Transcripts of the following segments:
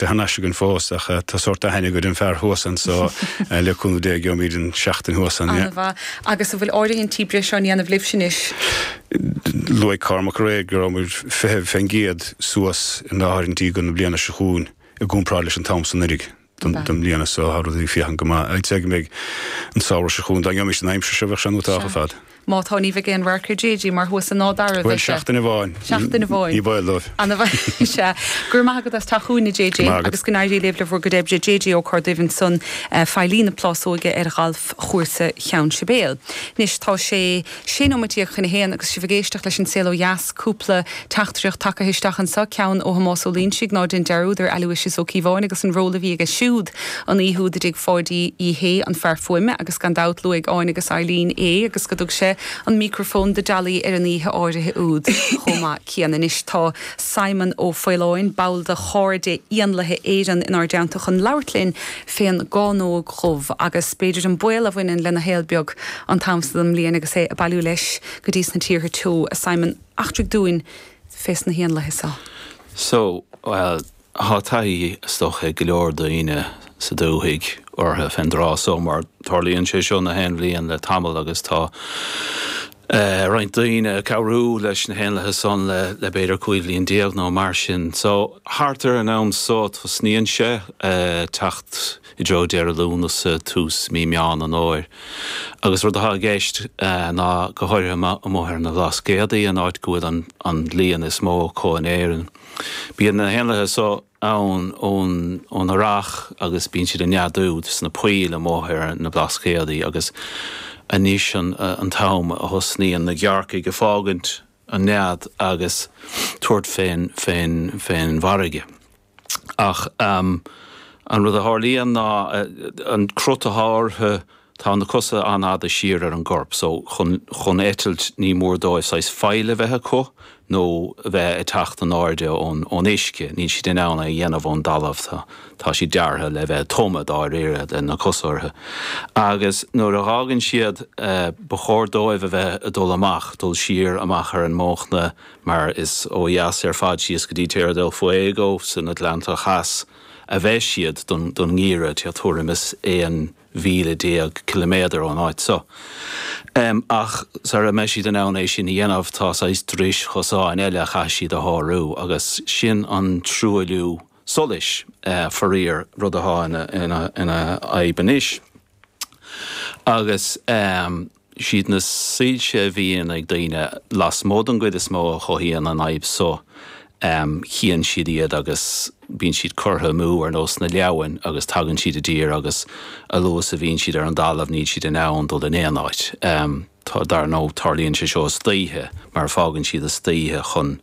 Thar n-ais againn fós ach tá sórt aithne agad ar an fear thuas anso le cúnamh Dé gheobhaimid an seachtain thuas ann. An-mhaith. Agus an bhfuil áirithintí breise á ndéanamh libhse anois? Luaigh Cormac aréir go raibh muid 20% suas in áirithintí don bhliain seo chugainn i gcomparáid leis an t-am san anuraidh don mbliana so tá rudaí ag féachaint go maith. I'd say go mbeidh an samhradh seo chugainn dá ngeobhaimis an aimsir seo bheadh sé an-iontach ar fad. Má tá, ní bheidh aon radharc ar JJ mar thuas in Áth Dara a Bhuel, bheidh sé. seachtain amháin. Seachtain amháin. Ní baol dóibh. Ana-mhaith. Sea. Go raibh maith agat as teacht chugainn, a JJ. Go raibh maith agat. Agus go n-éirí libh le bhur gcuid oibre. JJ Ó Corrduibh ansan, feighlí na Plásóige ar Ghalfchúrsa Cheann Sibéal. Anois, tá sé sé nóiméad chun a haon agus sibh ag éisteacht leis An Saol Ó Dheas. Cúpla teachtaireacht tagtha isteach anso, ceann ó Thomás Ó Loingsigh, ná déan dearúd ar Aloysius Ó Cíobháin agus an ról a bhí aige siúd an oíche úd i dtigh Pháidí Uí Shé, an fear fuaime, agus gan dabht luaigh Áine agus Eileen é agus go dtug sé an mícreafón do Dolly ar an oíche áirithe úd chomh maith céanna. Anois tá Simon Ó Faoláin, ball de Chairde Éanlaithe Éireann inár dteannta chun labhairt linn fén gcánóg dhubh agus b'fhéidir an baol a bhaineann lena shaol beag an t-am so den mbliain agus é ag bailiú leis go dtí sna tíortha teo. A Simon, eachtraigh dúinn fés na héanlaithe so. So, bhuel, Thá taithí, is dócha, ag go leor daoine sa dúthaigh orthu fén dtráth so mar tarlaíonn sé seo na haon bhliain le tamall agus tá roinnt daoine ag cabhrú leis na héanlaithe san le b'fhéidir 15 bhliain nó mar sin. So, thart ar an am so tosnaíonn sé teacht i dtreo deireadh Lúnasa, tús mí Meán an Fhómhair. Agus rud atá i gceist ná go háirithe amuigh ar na Blascaodaí, an áit go bhfuil an líon is mó acu in Éirinn. Bíonn na héanlaithe so ann ón earrach agus bíonn siad ag neadú sna poill amuigh ar na Blascaodaí agus anois an t-am a thosnaíonn na gearrcaigh ag fágaint an nead agus tabhairt fén fén bhfarraige. Ach an rud a tharlaíonn ná an crot atá orthu Tá na cosa an-fhada siar ar an gcorp so chun chun eitilt ní mór dóibh saghas faill a bheith acu nó a bheith ag teacht in airde ón ón uisce. Níl siad in ann é a dhéanamh ón dtalamh. Tá tá siad deartha le bheith ag tumadh dáiríre le na cosa orthu. Agus nuair a dh'fhágann siad ba chóir dóibh a bheith ag dul amach, dul siar amach ar an mbóchna mar is ó dheas ar fad síos go dtí Tierra del Fuego san Atlantach Theas a bheas siad don don ngeimhreadh, tuairim is 11,000 ciliméadar ón áit so. Ach sara mbeidh siad in ann é sin a dhéanamh tá saghas dris chosáin eile a chaithfidh siad a shárú agus sin an truailliú solais, faraor, rud atá ina fhadhb anois. Agus. Siad na soilse a bhíonn ag daoine lasmuigh den gcuid is mó a chothaíonn an fhadhb so. Chíonn siad iad agus bíonn siad curtha amú ar nós na leamhain agus tagann siad i dtír agus a luaithe is a bhíonn siad ar an dtalamh níl siad in ann dul in aon áit. Dar ndóigh tarlaíonn sé seo istoíche mar fágann siad istoíche chun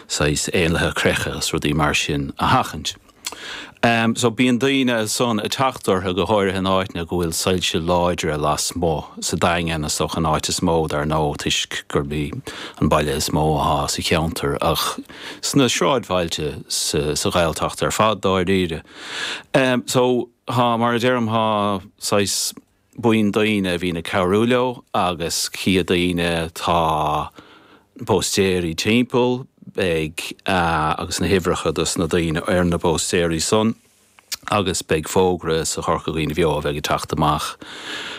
saghas éanlaithe creiche agus rudaí mar sin a sheachaint. So bíonn daoine ansan ag teacht orthu, go háirithe in áiteanna go bhfuil soilse láidre lasmuigh, sa Daingean is dócha an áit is mó dar ndóigh toisc gurb í an baile is mó athá sa cheantar ach sna sráidbhailte sa Ghaeltacht ar fad dáiríre. So thá, mar a deirim, thá saghas buíon daoine a bhíonn ag cabhrú leo agus chífidh daoine tá póstaeirí timpeall, beidh agus na huimhreacha dos na daoine ar na póstaeirí san agus beidh fógra sa Chorca Dhuibhne Bheo a bheidh ag teacht amach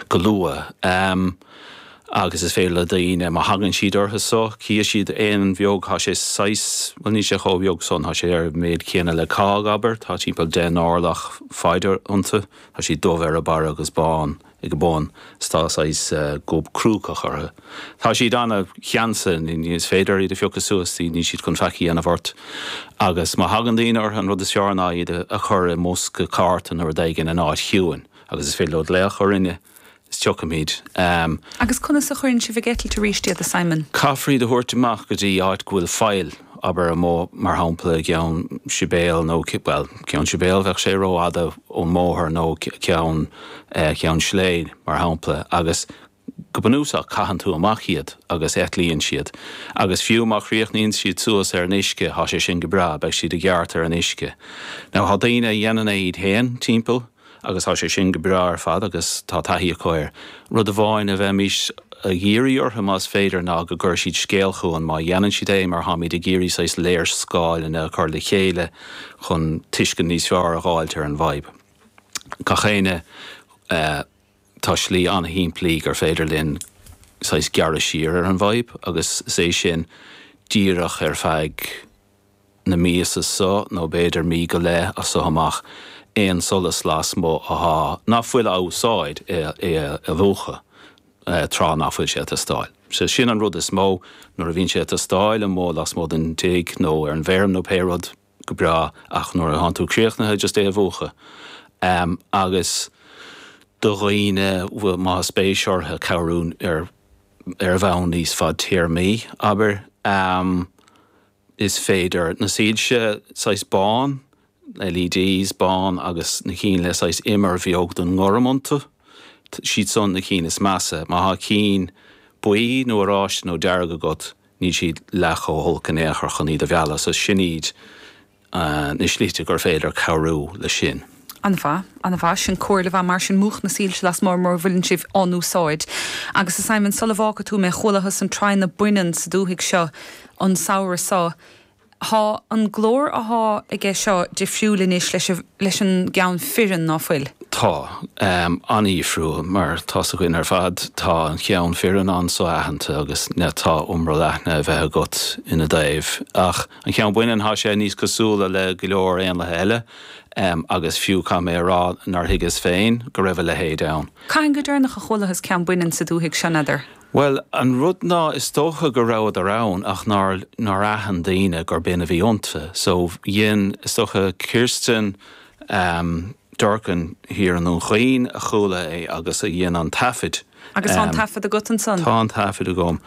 go luath. Agus is féidir le daoine, má thagann siad orthu so, chífidh siad éan bheag, tá sé saghas, bhuel níl sé chomh beag san, tá sé ar an méid céanna le cág, abair, tá timpeall 10 n-orlach faid iontu. Tá siad dubh ar a barra agus bán ag a bun is tá saghas gob crúcach orthu. Tá siad ana-cheansa, ní is féidir iad a phiocadh suas, níl siad chun faic a dhéanamh ort. Agus má thagann daoine orthu, an rud is fearr ná iad a chur i mbosca cárta nó rud éigin in áit chiúin agus is féidir leo glaoch orainne is tiocfaimid. Agus conas a chuireann sibh ag eitilt arís iad, a Simon? Caithfear iad a thabhairt amach go dtí áit go bhfuil faill, abair amuigh, mar shampla, i gCeann Sibéal nó, bhuel, Ceann Sibéal, bheadh sé rófhada ón mbóthar, nó Ceann, Ceann Sléibhe, mar shampla, agus go bunúsach caitheann tú amach iad agus eitlíonn siad. Agus fiú má chríochnaíonn siad suas ar an uisce, thá sé sin go breá, beidh siad i gceart ar an uisce. Now, thá daoine a dhéanann é iad féin timpeall. Agus tá sé sin go breá ar fad agus tá taithí acu air. Rud amháin a bheimís ag iarraidh orthu más féidir ná go gcuirfidh siad scéal chugainn má dhéanann siad é mar táimid ag iarraidh saghas léarscáileanna a chur le chéile chun tuiscint níos fearr a dh'fháilt ar an bhfadhb. Gach éinne, tá slí an-shimplí gur féidir linn saghas gearradh siar ar an bhfadhb agus is é sin díreach ar feadh na míosa so, nó b'fhéidir mí go leith as so amach, aon solas lasmuigh athá ná fuil á úsáid é a mhúchadh tráth ná fuil sé ag teastáil. So sin an rud is mó, nuair a bhíonn sé ag teastáil amuigh lasmuigh den tigh nó ar an bhfeirm nó pé rud, go breá, ach nuair atánn tú críochnaithe, just é a mhúchadh. Agus do dhaoine, má tá spéis orthu cabhrú ar ar bhonn níos fadtéarmaí, abair, Is féidir na soilse saghas bán, LEDs, bán agus na cinn le saghas imir bheag den ngorm iontu, siad san na cinn is measa. Má thá cinn buí nó oráiste nó dearg agat, níl siad leath chomh holc in aon chor chun iad a mhealladh. So sin iad na slite gur féidir cabhrú le sin. An-mhaith, an-mhaith. Sin comhairle mhaith mar sin, múch na soilse lasmuigh mura bhfuileann sibh á n-úsáid. Agus a Simon, sula bhfágfaidh tú mé, chualathas an traidhne baineann sa dúthaigh seo an samhradh seo. Thá an glór athá aige seo difriúil anois leis an, leis an gceann fireann, ná fuil? Tá. An-dhifriúil, mar tá's againn ar fad, tá an ceann fireann an-so-aitheanta agus tá iomrall aithne a bheith agat ina dtaobh. Ach an ceann baineann, thá sé níos cosúla le go leor éanlaithe eile, agus fiú caithfidh mé a rá nár thuigeas féin go raibh a leithéid ann. Cathain go deireanach a chualathas ceann baineann sa dúthaigh seo, n'fheadar? Bhuel, an rud ná, is dócha go rabhadar ann ach nár, nár aithin daoine gur b'in a bhí iontu. So, dhein, is dócha, Kirsten Durkan thiar i nDún Chaoin a chuala é agus a dhein an taifead. Agus tá an taifead agat ansan? Tá an taifead agam.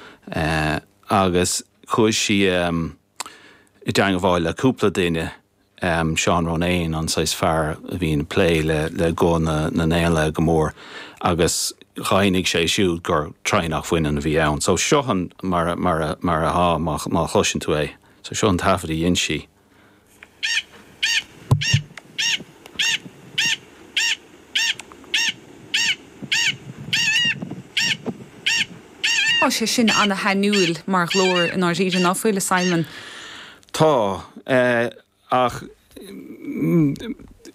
Agus chuaigh sí i dteangmháil le cúpla duine. Seán Ronayne, an saghas fear a bhíonn ag plé le guth na n-éanlaithe go mór agus dheimhnigh sé siúd gur traidhneach bhaineann a bhí ann. So seo an mar mar mar athá má má chloiseann tú é. So seo an taifead a dhein sí. Tá sé sin ana-shainiúil mar ghlór i ndáiríre, ná fuil, a Simon? Tá, ach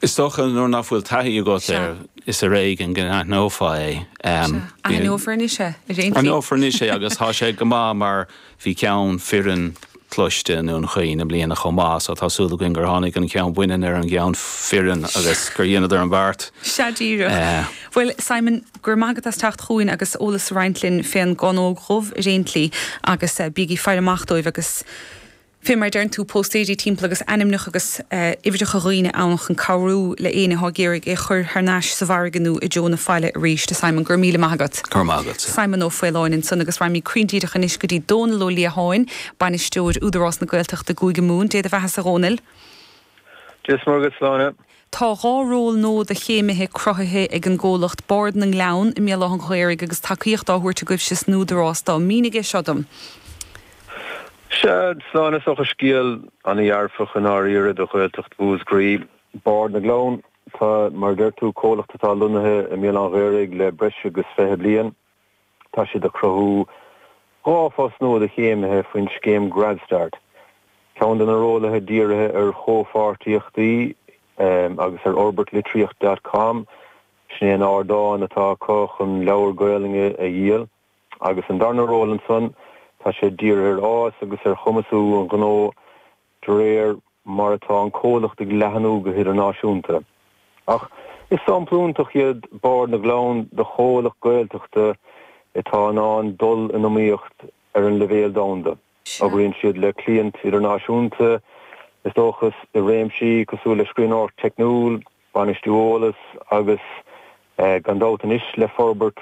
is dócha nuair nach bhfuil taithí agat air, is ar éigean go n-aithneofá é. Sea, aithneofar anois é, ar aon tslí. Aithneofar anois é agus tá sé go maith mar bhí ceann fireann cloiste i nDún Chaoin i mbliana chomh maith, so tá súil againn gur tháinig an ceann baineann ar an gceann fireann agus gur dheineadar an beart. Sea díreach. Bhuel, Simon, go raibh maith agat as teacht chugainn agus eolas a roinnt linn fén gcánóg dhubh ar aon tslí agus bígí ag faire amach dóibh agus fé mar a deireann tú, póstaeirí timpeall agus ainmneacha agus uimhreacha dhaoine ann chun cabhrú le éinne atá ag iarraidh é a chur thar n-ais sa bhfarraige nó i dtreo na faille arís. A Simon, go raibh míle maith agat. Go raibh maith agatsa. Simon Ó Faoláin ansan agus raghaimid cruinn díreach anois go dtí Dónal Ó Liatháin, Bainisteoir Údarás na Gaeltachta i gCúige Mumhan. Dé do bheathasa a Dhónaill. Dia is Muire dhuit, Sláine. Tá 2 ról nua do chéimithe cruthaithe ag an gcomhlacht Bord na nGleann i mBéal Átha an Ghaorthaidh agus tacaíocht á thabhairt agaibhse san Údarás dó. Mínigh é seo dom. Sea, Sláine, is dócha scéal ana-dhearfach i ndáiríre do Ghaeltacht Mhúscraí. Bord na nGleann, tá, mar a deir tú, comhlacht atá lonnaithe i mBéal Átha an Ghaorthaidh le breis agus 20 bliain. Tá siad ag cruthú 2 phost nua do chéimithe faoin scéim GradStart. Ceann de na rólaithe dírithe ar chomhpháirtíochtaí agus ar fhorbairt litríocht dot com, sin é an ardán atá acu chun leabhair Gaolainne a dhíol. Agus an darna ról ansan, tá sé dírithe ar fhás agus ar chumasú an ghnó de réir mar atá an comhlacht ag leathnú go hidirnáisiúnta. Ach is sampla iontach iad Bord na nGleann de chomhlacht Gaeltachta atá in ann dul in iomaíocht ar an leibhéal domhanda. Oibríonn siad le cliaint idirnáisiúnta, is dócha, i réimsí cosúil le scríbhneoireacht teicniúil, bainistiú eolas agus, gan dabht anois, le forbairt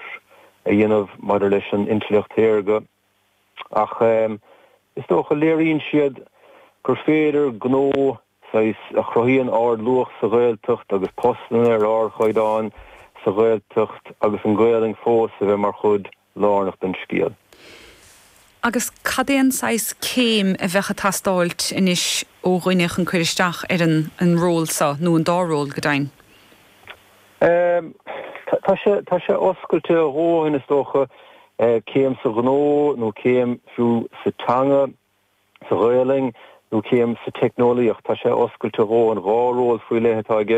a dhéanamh maidir leis an intleacht shaorga. Ach is dócha, léiríonn siad gur féidir gnó saghas a chruthaíonn ardluach sa Ghaeltacht agus postanna ar ardchaighdeán sa Ghaeltacht agus an Ghaolainn fós a bheith mar chuid lárnach den scéal. Agus cad é an saghas céim a bheadh ag teastáilt anois ó dhuine chun cur isteach ar an ról seo, nó an dá ról, go deimhin? Tá sé, tá sé oscailte a dhóthain is dócha, céim sa ghnó nó céim fiú sa teanga, sa Ghaelainn nó céim sa teicneolaíocht. Tá sé oscailte a dhóthain. 2 ról faoi leith atá i gceist.